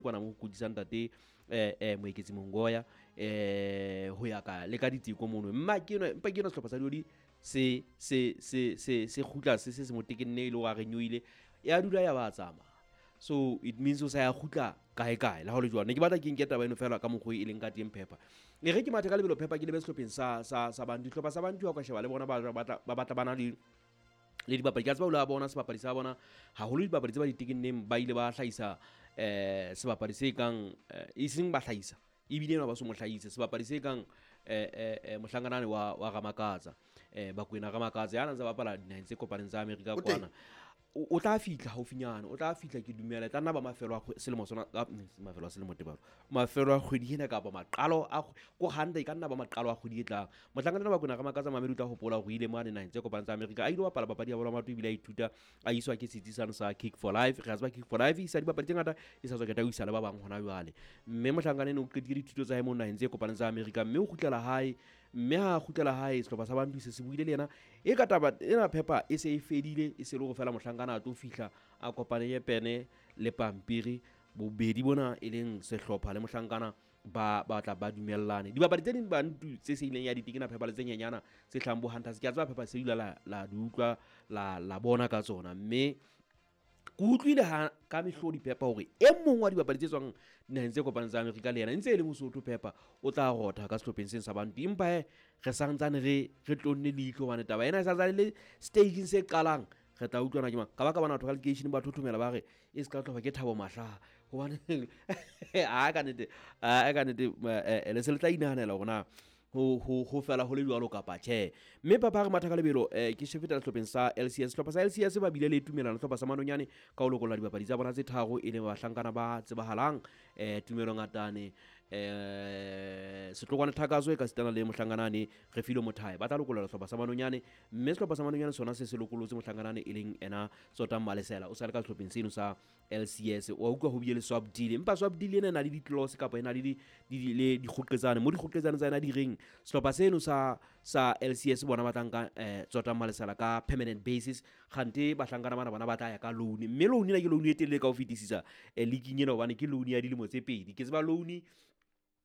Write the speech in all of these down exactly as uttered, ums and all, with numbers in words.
Kwana mo kudisa ntate eh eh Moeketsi Mongoya eh ho ya ka le ka diteko mono mma ke no mpa ke no sehlopha sa Diodi se se se se se kgutla se se se motekenne ile wa re nyoile ya dula ya ba tsama. So it means o sa ya kgutla kae kae la ho le jwang ne ke batla ke nke taba eno fela ka mokgwa e leng ka teng Pepper e re ke mathe ka lebelo Pepper ke lebe sehlopheng sa sa sa Bantu. Hlopha sa Bantu ha ka sheba le bona ba batla ba batla bana le le dibapadi ka tseba o la bona sebapadi sa bona haholo dibapadi tse ba ditekenneng ba ile ba hlahisa eh sebapadi se kang e seng ba hlahisa ebile ba so mo hlahise sebapadi se kang eh eh mohlanganane wa wa Ramakatsa eh Bakwena Ramakatsa ya ntse bapala dinaheng tse kopaneng tsa Amerika kwana o tla fitla haufinyana o tla fitla ke dumela tla nna ba mafelo a selemo sona mafelo a selemo tebalo mafelo a kgwedi ena kapa maqalo a ko handa e ka nna ba maqalo a kgwedi e tlang. Mohlankana ba Kwena Ramakatsa Mamelodi tla hopola hore ile mane naheng tse kopaneng tsa Amerika a ile bapala papadi ya bolo ya maoto ebile a ithuta a iswa ke setsi sane sa Kick for Life. Re a tseba Kick for Life e isa dibapadi tse ngata e sa tswa keta o isa le ba bang hona jwale mme mohlankana ene o qetile dithuto tsa hae mo naheng tse kopaneng tsa Amerika mme o kgutlela hae mme ha kgutlela hae sehlopha sa Bantu se se buile le yena e ka taba ena Pepper e se e fedile e se le go fela mohlankana a tlo fihla a kopane ye pene le pampiri bobedi bona e leng sehlopha le mohlankana ba ba tla ba dumellane. Dibapadi tse ding Bantu tse se ileng ya ditekena Pepper le tse nyenyana tse hlahang bo Hunters ke a tseba Pepper se dula la la di utlwa la la bona ka tsona mme ke utlwile ha ka mehlodi Pepper hore e mong wa dibapadi tse tswang dinaheng tse kopaneng tsa Amerika le yena ntse e le Mosotho Pepper o tla rotha ka sehlopheng seng sa Bantu empa he re santsane re re tlonne leihlo hobane taba ena e sa tsane le stageng se qalang re tla utlwana ke mang ka ba ka bona batho ka lekeisheneng ba thothomela ba re e se ka tlhoba ke Thabo Mahlaha hobane a ka nnete a ka nnete le se le tla inahanela hore na ho ho ho fela ho le jwalo kapa tjhe. Mme Papa re matha ka lebelo eh ke shefeta sehlopheng sa L C S. Sehlopha sa L C S ba bile le tumelano sehlopha sa Manonyane ka ho lokolla dibapadi tsa bona tse tharo e leng bahlankana ba tsebahalang eh Tumelo Ngatane eh Setlokwane Thakaso e ka sitana le mohlanganane Refilwe Mothae ba tla lokolla sehlopha sa Manonyane mme sehlopha sa Manonyane sona se se lokolotse mohlanganane e leng ena Tsotang Malesela o sa le ka sehlopheng seno sa L C S. Wa utlwa ho bile le swap deal empa swap deal ena e na le di-clause kapa e na le di le dikgoqetsane mo dikgoqetsane tsa ena di reng sehlopha seno sa sa L C S bona ba tla nka eh Tsotang Malesela ka permanent basis kgante bahlankana bana bona ba tla ya ka loan mme loan ena ke loan e telele ka ho fetisisa eh leaking ena hobane ke loan ya dilemo tse pedi ke tseba loan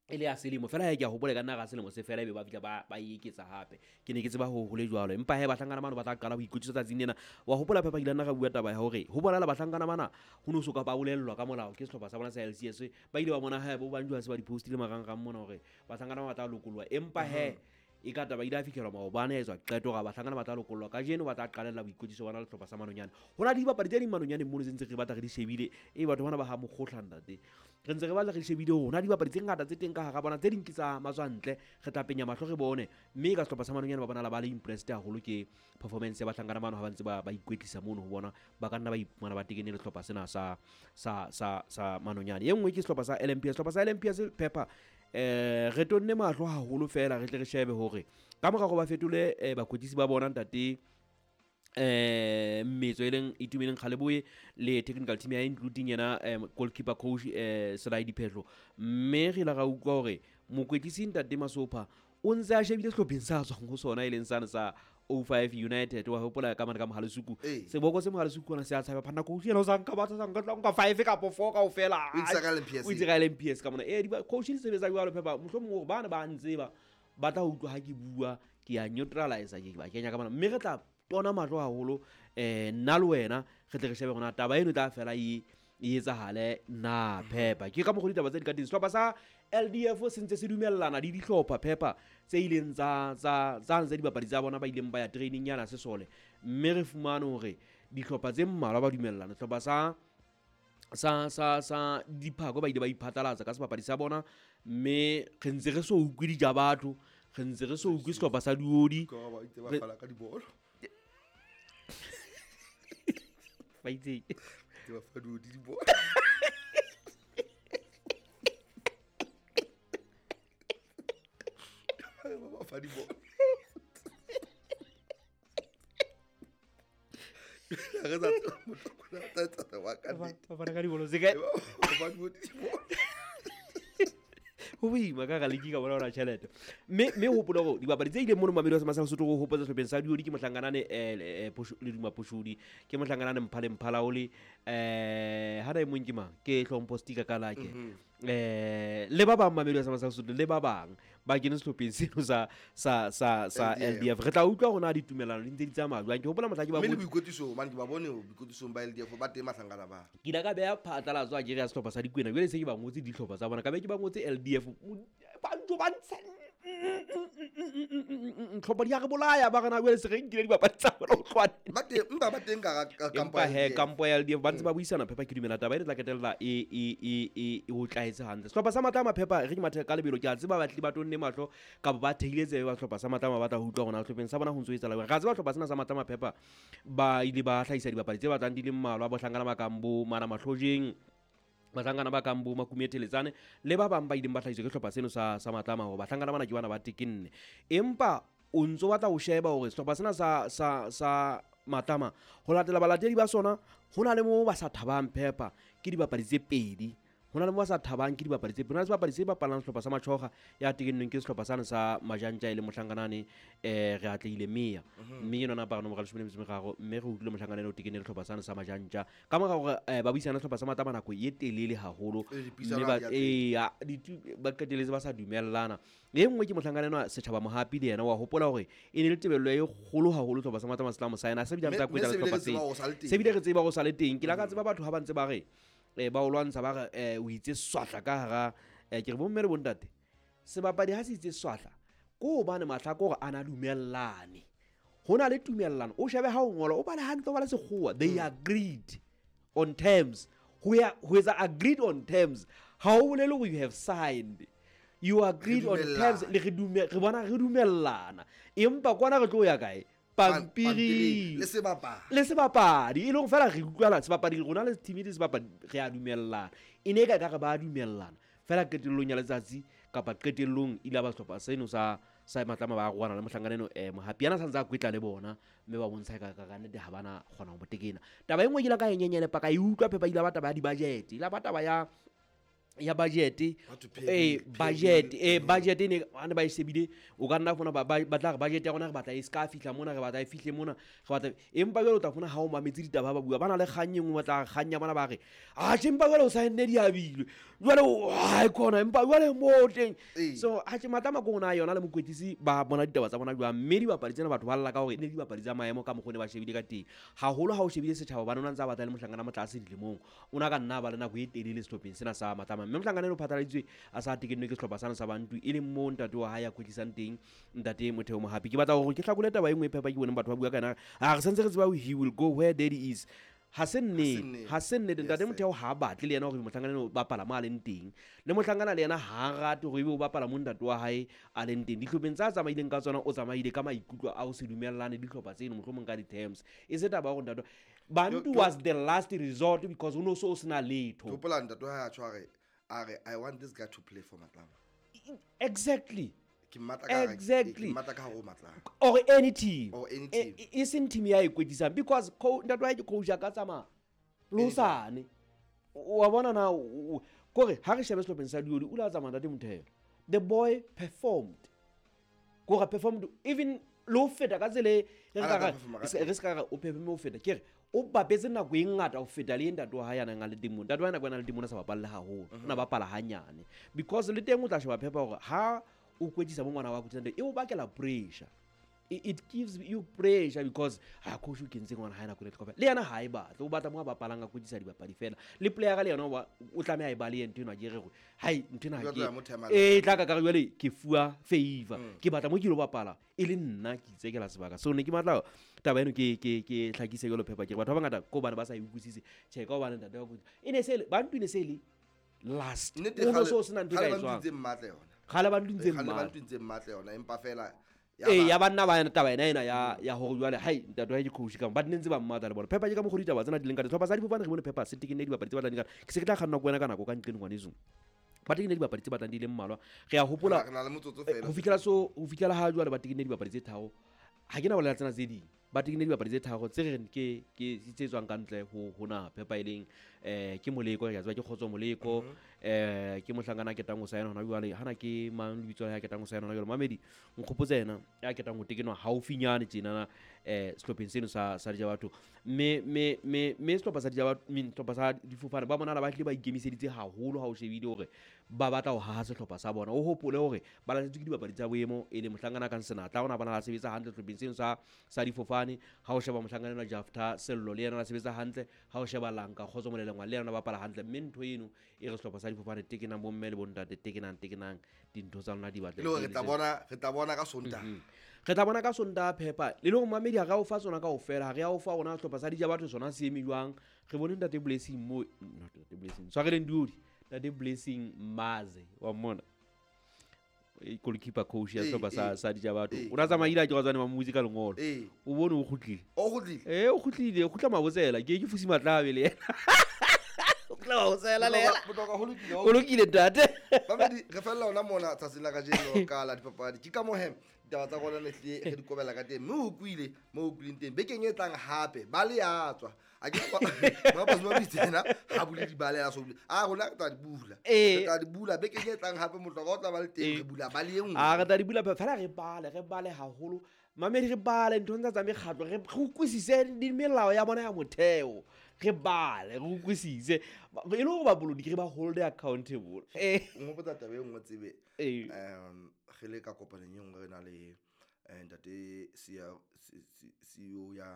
e le ya selemo fela ha ke a hopola ka nna ga selemo se fela ebe ba fihla ba ba eketsa hape ke ne ke tseba ho hole jwalo empa he bahlankana bana ba tla qala ho ikwetlisa tsatsing lena. Wa hopola Pepper ke ile nna ga bua taba ya hore ho bonala bahlankana bana ho no so ka ba bolellwa ka molao ke sehlopha sa bona sa L C S ba ile ba bona ha bo banjwa se ba di-postile marangrang mona hore bahlankana ba tla lokollwa empa he e ka taba ile a fitlhelwa maobane a etswa qeto ga bahlankana ba tla lokollwa kajeno ba tla qalella boikwetliso bona le sehlopha sa Manonyane. Ho na le dibapadi tse ding Manonyane mono tse ntse re batla re di shebile e batho bana ba ha mokgohla ntate re ntse re batla re shebile hore na dibapadi tse ngata tse teng ka hara bona tse ding ke tsa matswantle re tla penya mahlo re bone mme ka sehlopha sa Manonyane ba bonala ba le impressed haholo ke performance ya bahlankana bano ha ba ntse ba ba ikwetlisa mono ho bona ba ka nna ba iphumana ba tekene le sehlopha sena sa sa sa sa Manonyane. E nngwe ke sehlopha sa L M P S. Sehlopha sa L M P S Pepper eh re tonne mahlo haholo fela re tle re shebe hore ka mora go ba fetole bakwetlisi ba bona ntate eh Mmetso e leng Itumeleng Kgaleboe le technical team ya including yena goalkeeper coach eh Selai Diphetlo mme re la ga utlwa hore mokwetlisi ntate Masopha o ntse a shebile sehlopheng sa tswang ho sona e leng sane sa oh five United wa hopola ka mane ka Mohalisuku seboko se Mohalisuku ona se a tshaba phana coach yena o sa nka batho sa nka tla nka five kapa four kaofela o itse ka L M P S o itse ka L M P S ka mona eh di coach di sebetsa jwalo Pepper mohlomong hore bana ba ntse ba ba tla utlwa ha ke bua ke ya neutralize ke ba kenya ka mona mme re tla tona mahlo haholo eh nna le wena re tle re shebe hore taba eno e tla fela e e etsahale na Pepper ke ka mokgwa ditaba tse di ka teng. Sehlopha sa L D F se ntse se dumellana le dihlopha Pepper tse ileng tsa tsa tsa ntse dibapadi tsa bona ba ileng ba ya training yana sesole mme re fumane hore dihlopha tse mmalwa ba dumellana. Sehlopha sa sa sa sa Diphako ba ile ba iphatlalatsa ka sebapadi sa bona mme re ntse re so utlwe dija batho re ntse re so utlwe sehlopha sa Diodi ba itse ba fala ka dibolo ba itse ba fa di dibolo ba fa dibolo re tsa motho tsa tsa wa ka ba fana ka dibolo se kae ba fa dibolo. Ho Ho boima ka ga liki ka bona ona tjhelete. Mme mme hopola hore dibapadi tse ileng mono Mamelodi sa Masela Sotho go hopotsa sehlopheng sa Diodi ke mohlankanane eh le Duma Poshodi, ke mohlankanane Mphale Mphalaole, eh ha da e mong ke mang? Ke Hlompho Stika ka lake. Eh le ba bang Mamelodi sa Masela Sotho le ba bang ba kene sehlopheng seno sa sa sa sa L D F. Re tla utlwa hore na ditumelano di ntse di tsamaya jwang. Ke hopola mohla ke ba mme le boikwetliso man ke ba bone boikwetlisong ba L D F ba teng mahlankana ba. Ke ile ka beha phatlalatso a ke re ya sehlopha sa Dikwena, jwale se ke ba ngotse dihlopha tsa bona, ka be ke ba ngotse L D F. Ba ntse ba ntsha tlhopha di a re bolaya ba rena jwale se re nkile dibapadi tsa bona ho tloha neng. Ba teng, empa ba teng ka hara ka kampo Empa ya he, L D F. kampo ya L D F ba ntse ba buisana Phepa, ke dumela taba e re tla ketella e e e e e o tlaetse hantle. Sehlopha sa Matlama Phepa re ke mathe ka lebelo, ke a tseba batli ba tonne mahlo kapa ba thehile tsebe ba sehlopha sa Matlama ba tla ho utlwa hore na sehlopheng sa bona ho ntso etsahala jwang. Re a tseba sehlopha sena sa Matlama Phepa ba ile ba hlahisa dibapadi tse batlang di le mmalwa, bohlankana ba kang bo Mana Mahlojeng, bahlankana ba kang bo Makume Theletsane le ba bang ba ileng ba hlahiswa ke sehlopha seno sa sa Matlama hore bahlankana bana ke bana ba tekenne. Empa o ntso batla ho sheba hore sehlopha sena sa sa sa Matlama ho latela balatedi ba sona ho na le moo ba sa thabang Phepa ke dibapadi tse pedi. Ho na le moo ba sa thabang ke dibapadi tse pedi. Ho na le sebapadi se bapalang sehlopha sa Matjhoga ya tekennweng ke sehlopha sane sa Majantja e le mohlankanane, eh, re atlehile Meya. Mme ke nona apara nomoro ya leshome le metso e meraro, mme re utlwile mohlankana eno o tekenne le sehlopha sane sa Majantja. Ka mora hore, eh, ba buisane sehlopha sa Matlama nako e telele haholo, E, dipuisano mme ba ha di a teng. ee, a, ditu-, ba qetelletse ba sa dumellana. E nngwe ke mohlankana enwa Setjhaba Mohapi le yena wa hopola hore e ne le tebello e kgolo haholo sehlopha sa Matlama se tla mo saena. Se bile Mme- a ntse a mme kwetla se bile sehlopha re tseba seo. hore o sa le teng. Se bile re tseba hore o sa le teng. Ke la ka tseba batho ha ba ntse ba re, eh, ba o lwantsha ba re, eh, o itse swahla ka hara, eh, ke re bomme le bontate, sebapadi ha se itse swahla ke hobane mahlakore a na dumellane. Ho na le tumellano, o shebe ha o ngola, o bale hantle, o bale sekgowa. They Mm. agreed on terms. Ho ya, ho etsa agreed on terms ha o bolele hore you have signed. You agreed on terms, dumellana. le re dume-, re bona re dumellana. Empa kwana re tlo ya kae? Pampiring. Le sebapadi. Le sebapadi. E leng fela re utlwala sebapadi, rona le team le sebapadi re a dumellana. E ne e ka ekare ba a dumellana. Fela qetellong ya letsatsi kapa qetellong ile ba sehlopha seno sa sa Matlama ba arohana le mohlankana eno, eh, Mohapi yana sa ntse a kwetla le bona, mme ba bontsha ka, ka, ka nnete ha bana kgona ho mo tekena. Taba e nngwe ke ile ka e nyenyelepa, ka e utlwa Phepa, ile ba taba ya di-budget, ile ba taba ya, ya budget, How to pay eh, bill, pay budget, bill. eh, budget e ne, ha ne ba e shebile, o ka nna fumana ba, ba, ba tla re budget ya rona re batla e ska fihla mona, re batla e fihle mona, re batla, empa jwale o tla fumana ha o mametse ditaba ba bua, ba na le kgang e nngwe, ba tla re kgang ya bona ba re, atjhe, empa jwale o saenne diabilwe, jwale o, ha e khona, empa jwale mo teng. Ee. So, atjhe, Matlama ke ona yona le mokwetlisi ba bona ditaba tsa bona jwang, mme dibapadi tsena batho ba lla ka hore e ne dibapadi tsa maemo ka mokgwa o ne ba shebile ka teng. Haholo ha o shebile setjhaba, hobane o na ntse a batla le mohlankana motlase dilemong, o na ka nna ba le nako e telele sehlopheng sena sa Matlama. Mme mohlankana eno o phatlaladitswe a sa tekennwe ke sehlopha sena sa Bantu, e leng moo ntate wa hae a kwetlisang teng, ntate Motheo Mohapi. Ke batla hore ke hlakole taba e nngwe e Phepa ke boneng batho ba bua ka yona. A re santse re tseba he will go where daddy is. Ha se nnete, nnete. ha se nnete. Yes, Ntate sir. Motheo ha a batle le yena hore mohlankana eno o bapala mo a leng teng, le mohlankana le yena ha a rate hore ebe o bapala mo ntate wa hae a leng teng. Dihlopheng tsa a tsamaileng ka tsona, o tsamaile ka maikutlo a ho se dumellane dihlopha tseno, mohlomong ka di-terms. E se taba ya hore ntate Bantu Yo, yo. was the last resort because o no so o sena letho. Ke hopola ntate wa hae a tjho a re, a re, I want this guy to play for Matlama. Exactly. Ke mmatla ka hare, Exactly. ke mmatla ka hare ho Matlama. Or any team. Or any E, team. e, e seng team ya e kwetlisang because co-, ntate wa hae ke coach a ka tsamaya le hosane. O wa bona na, o, o, kore ha re shebe sehlopheng sa Dioli, o ile a tsamaya ntate Motheo. The boy performed. Kore performed even le ho feta ka tsela e re A ka la re, ka performa ka re se, re se ka re o performe ho feta. Ke re, o bapetse nako e ngata ho feta le e ntate wa hae a neng a le teng moo. Ntate wa hae nako e nang le teng moo, o ne a sa bapalle haholo. O ne a bapala hanyane. Because le teng o tla sheba Phepa hore ha o kwetlisa bo ngwana wa kwetlisang teng, e o bakela pressure. It, it gives you pressure because ha coach o kentse ngwana hae nako e kaofela. Le yena ha e batle, o batla mo a bapalang a kwetlisa dibapadi fela. Le player le yena o ba, o tlameha e bale ntho ena ke re hore, hai, ntho ena ha Jwale ke tla mo thema e le. tla ka ka re jwale ke fuwa favor. Mm. Ke batla mo ke lo bapala e le nna ke itsekela sebaka. So ne ke batla taba eno ke, ke, ke hlakise jwalo Phepa, ke re batho ba bangata ko hobane ba sa e utlwisise. Tjhe, ka hobane ntate wa kwetlisa. E ne se le, Bantu e ne se le last. Nnete O no kgale- so sena ntho e ka kgale etswang. Bantu ntse mmatla yona. Kgale Bantu ntse Kgale mmatla. Bantu ntse mmatla yona, empa fela ya Ee, ba- ya banna ba yena taba ena ena ya, ya hore jwale, hai, ntate wa hae ke coach ka mo. Ba ne ntse ba mmatla le bona. Phepa ke ka mokgwa ditaba tsena di leng ka teng. Sehlopha sa difofane re bone Phepa se tekenne dibapadi tse batlang di ka. Ke se ke tla kganna ko wena ka nako ka nqeng ngwaneso. Ba tekenne dibapadi tse batlang di le mmalwa. Re a hopola, Re na le motsotso eh, fela. ho fihlela so, ho fihlela ha jwale ba tekenne dibapadi tse tharo. Ha ke na bolela tsena tse ding. Ba tekenne dibapadi tse tharo tse re reng ke, ke tse tswang ka ntle ho, ho naha. Phepa e leng, Eh ke Moleko ya tseba ke Kgotso Moleko eh ke mohlankana a ketang ho saena hona jwale hana ke mang lebitso la hae a ketang ho saena hona jwale mamedi nkgopotse yena ya ketang ho tekenwa haufinyane tjenana eh sehlopheng seno sa sa Dijabatho mme mme mme mme sehlopha sa Dijabatho mme sehlopha sa Difofane ba bonala ba hlile ba ikemiseditse haholo ha o shebile hore ba batla ho haha sehlopha sa bona o hopole hore ba lahletswe ke dibapadi tsa boemo e le mohlankana kang Senatla ona bona la sebetsa hantle sehlopheng seno sa sa Difofane ha o sheba mohlankana enwa Jafta Sello le yena o sebetsa hantle ha o sheba Lanka Kgotso Molelengwa le yena o bapala hantle mme ntho eno e re sehlopha sa Difofane tekenang bomme le bontate tekenang tekenang dintho tsa lona di batle Le hore re tla bona re tla bona ka Sontaha. Re tla bona ka Sontaha phepa le le hore mamedi ha re a o fa tsona kaofela ha re a o fa rona sehlopha sa Dijabatho sona se eme jwang re bone ntate Blessing mo not ntate Blessing tshwareleng diodi ntate Blessing Maze wa mmona e goalkeeper coach ya Ee, sehlopha sa ee, sa Dijabatho ee. o na tsamaile a ke wa tswane ba mmutse ka lengolo Ee. o bone o kgutlile O kgutlile? ee o kgutlile o kgutla Mabotsela ke ke Fusi Matlabe le yena o kgutla Mabotsela le yena Botoka ho lokile. o lokile ntate Mamedi re fella hona mona tsatsing la kajeno ka la dipapadi. Ke ka moo he ditaba tsa rona ne hlile re di kobela ka teng. Mme o utlwile mo o utlwileng teng. Bekeng e tlang hape ba le ya tswa. A ke Mapasi Mabitse yena ha bule dibale a so bule. A rona re tla di bula. Ee. Re tla di bula bekeng e tlang hape Motlokwa o tla ba le teng Ee. re bula ba le e nngwe. A re tla di bula fela re bale re bale haholo mamedi re bale nthong tsa tsa mekgatlo re re utlwisise di melao ya bona ya motheo re bale re utlwisise e le hore bapolotiki re ba hold accountable eh O nghopotsa taba e nngwe tsebe. Eh. Um re le ka kopanong e nngwe re na le eh, ntate C E O ya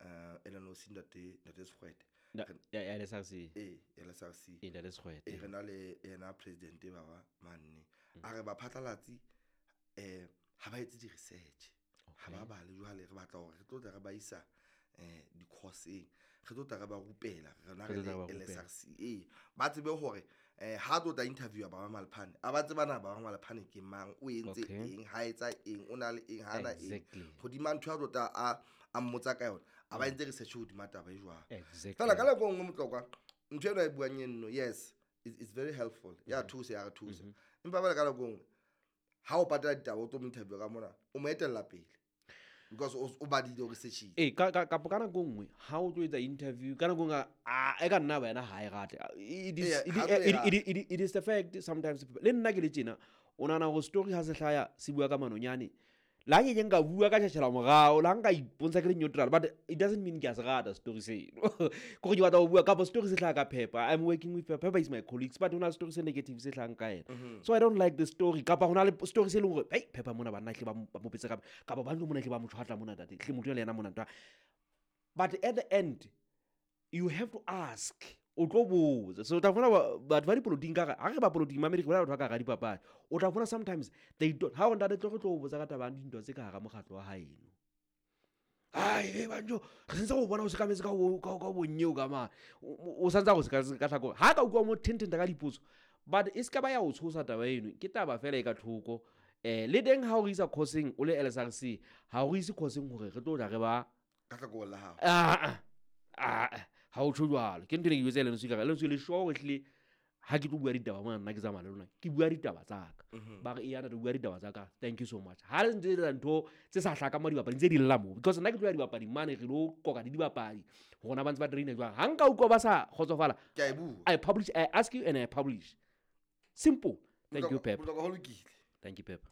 eh L N O C ntate ntate Sekgwete. Na- ya ya L S R C. Eh, L S R C. Eh, ntate Sekgwete. Eh, re na le yena president ba ba manne. A re baphatlalatsi eh ha ba etse di-research. Ha ba bale jwale re batla hore re tlo tla re ba isa eh di-course-eng. Re tlo tla re ba rupela rena Re re tlo tla le re ba L S rupela. R C. Eh, ba tsebe hore eh ha tlo tla interview ba ba Malphane. A ba tseba na ba ba Malphane ke mang, o entse Okay. eng, ha etsa eng, o na le eng, ha na eng. Exactly. Hodima ntho ya tlo tla a a mmotsa ka yona, a ba entse research hodima taba e jwang. Exactly. Fela ka nako e nngwe Motlokwa, ntho eno a e buang eno, yes, it's, it's very helpful. Ya thusa, ya re thusa. Empa fela ka nako e nngwe, ha o patala ditaba o tlo mo interview ka mona, o mo etella pele. Because o, o badile, o research-ile. Eh ka ka kapo ka nako e nngwe ha o tlo etsa interview ka nako e nngwe a e ka nna ba yena ha e rate. It is, Ee, it, ha tlo e it, rata. it, it, it is the fact sometimes le nna ke le tjena o nahana hore story ha se hlaya se bua ka manonyane la nke ke nka bua ka tjhatjhela morao la nka ipontsha ke le neutral but it doesn't mean ke a se rata story seno ke gore ke batla ho bua kapa story se hlaha ka Pepper. I'm working with Pepper. Pepper is my colleagues but hona le story se negative se hlahang ka yena. So I don't like the story kapa hona le story se leng hore hey Pepper mona banna hle ba mo ba mo petse kapa kapa ba ntlo mona hle ba mo tshwatla mona ntate hle motho le yena mona ntwa but at the end you have to ask o tlo botsa so o tla fumana ba- batho ba dipolotiking ka ha re ba polotiking mamedi ke bolela batho ba ka hara dipapadi o tla fumana sometimes they don't ha o ntate tlo re tlo o botsa ka taba ya dintwa tse ka hara mokgatlo wa haeno ai e banjo re sentse go bona o sekametse ka bo- ka ka bonyeo ka mane o o- o santse a go sekametse ka tlhakore ha ka utlwa mo thententa ka dipotso but e se ka ba ya o tshosa taba eno ke taba fela e ka thoko um le teng ha o re isa course-eng o le L S R C ha o re ise course-eng hore re tlo tla re ba Ka hlakoreng la hao. ah ah ha o tjho jwalo ke ntho e ne ke jwetsa L N C ka re L N C le sure hore ehlile ha ke tlo bua ditaba mona nna ke tsamaya le lona ke bua ditaba tsa ka ba re eya ntate o bua ditaba tsa ka thank you so much ha le ntse le etsa ntho tse sa hlakang mo dibapading tse di lla moo because nna ke tlo ya dibapading mane re lo qoqa le dibapadi rona ba ntse ba train-a jwang ha nka utlwa ba sa kgotsofala Ke a e bua. I publish I ask you and I publish simple thank you Botlokwa- Pepper Botlokwa ho lokile. thank you Pepper.